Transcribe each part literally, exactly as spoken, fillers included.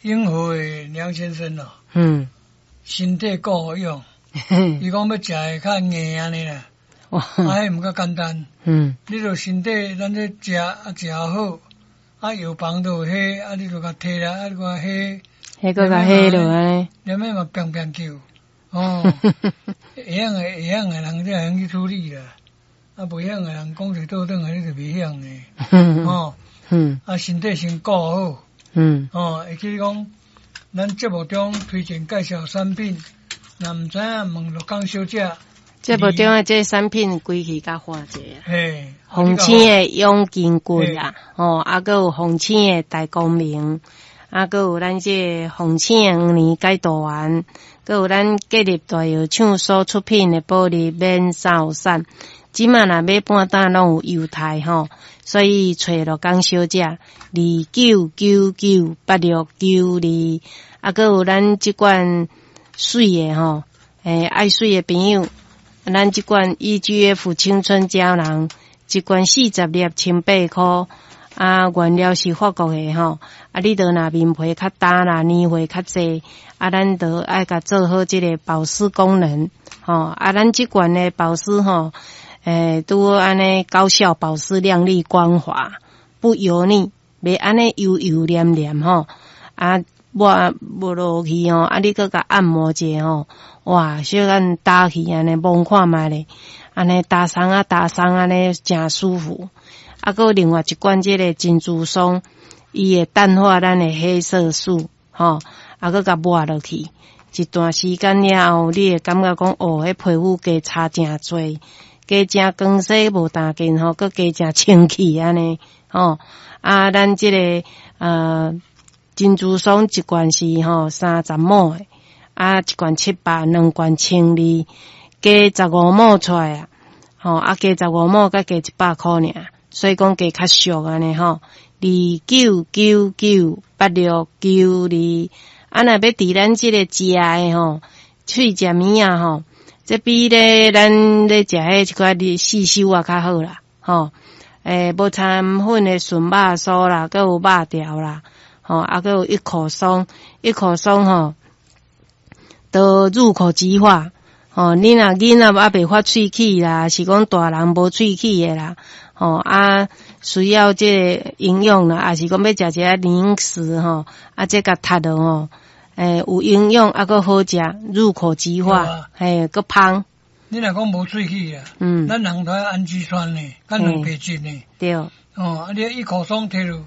永和的梁先生哦，嗯，身體顧好用，伊講欲食會較硬按呢啦，哇，啊，彼毋較簡單。嗯，你著身體咱這食啊食好，啊藥房都有彼，啊你著共提來，啊你共彼，彼閣共彼落按呢，連尾嘛變變叫，哦，會曉的會曉的人才會曉去處理啦，啊袂曉的人講一倒轉來你就袂曉的，哦，嗯，啊身體先顧好，嗯，哦，會記講，咱節目中推薦介紹產品，若毋知影問鹿港小姐。節目中的這產品規氣較看者啊，嘿，紅星的養筋骨啊，吼，啊，閣有紅星的大光明，啊，閣有咱這紅星的黃連解毒丸，閣有咱建立大藥廠所出品的保利免瘦散。這馬若買半擔攏有優待吼，所以揣鹿港小姐二九九九八六九二，啊，閣有咱這款媠的吼，欸，愛媠的朋友。咱這款 E G F 青春膠囊，一罐四十粒，千八箍。啊，原料是法國的吼。啊，你著若面皮較焦啦，年歲較濟，啊，咱著愛共做好這个保濕功能，吼。啊，咱這罐的保濕吼，欸，拄好按呢高效保濕、亮麗光滑，不油膩，袂按呢油油黏黏吼。啊，抹抹落去吼，啊，你閣共按摩者吼。哇，小可打去按呢，摸看覓咧，按呢焦鬆啊焦鬆按呢，誠舒服。啊，閣有另外一罐這个珍珠霜，伊會淡化咱的黑色素，吼，啊，閣共抹落去，一段時間了後，你會感覺講，哦，彼皮膚加差誠濟，加誠光雪無焦緊吼，閣加誠清氣按呢，吼。啊，咱這个呃珍珠霜一罐是吼三十毫的。啊，一罐七百，兩罐千二，加十五毫出來啊！吼，啊，加十五毫，閣加一百箍爾，所以講加較俗按呢吼。二九九九八六九二，啊，若欲佇咱這個食的吼，喙食物仔吼，這比咧咱咧食彼一寡的細修啊較好啦，吼。欸，無摻粉的純肉酥啦，閣有肉條啦，吼，啊，閣有一口鬆，一口鬆吼。都入口即化，吼！你若囡仔猶未發喙齒啦，是講大人無喙齒的啦，吼啊，需要這个營養啦，抑是講欲食一下零食吼，啊，這共讀落吼，欸，有營養啊，閣好食，入口即化，嘿，閣芳。你若講無喙齒啊，嗯，咱人都愛氨基酸呢，佮蛋白質呢，對。哦，啊，你一口鬆提落，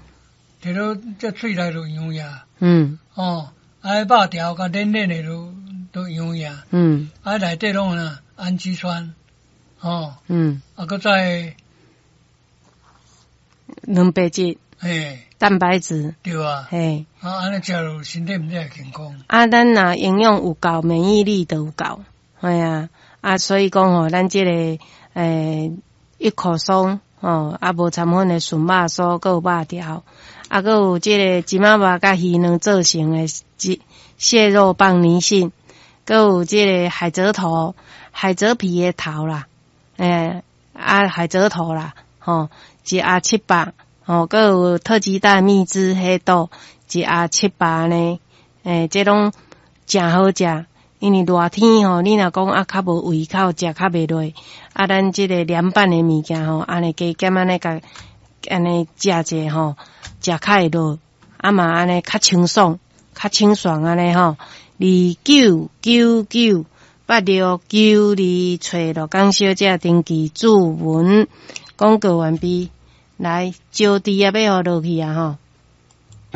提落這喙內就溶呀，嗯，哦，啊，肉條佮軟軟的都。都營養，嗯，啊內底攏有氨基酸，哦，嗯，啊，閣再蛋白質，嘿，蛋白質，對啊，嘿，啊，按呢食落身體毋才會健康。啊，咱若營養有夠，免疫力就有夠，嘿啊，啊，所以講吼，咱這個欸一口鬆，吼，啊，無摻粉的純肉酥，閣有肉條，啊，閣有這个芝麻肉佮魚卵做成的蟹蟹肉棒泥蕈。閣有這个海蜇頭、海蜇皮的頭啦，欸，啊海蜇頭啦，吼，一盒七百，吼，閣有特級大蜜汁黑豆，一盒七百呢，欸，這攏誠好食，因為熱天吼，你若講啊較無胃口，食較袂落，啊，咱這个涼拌的物件吼，按呢加減按呢共按呢食者吼，食較會落，啊嘛按呢較清爽、較清爽按呢吼。二九九九八六九二，揣鹿港小姐登記注文，廣告完畢。來，招娣啊，欲予落去啊吼。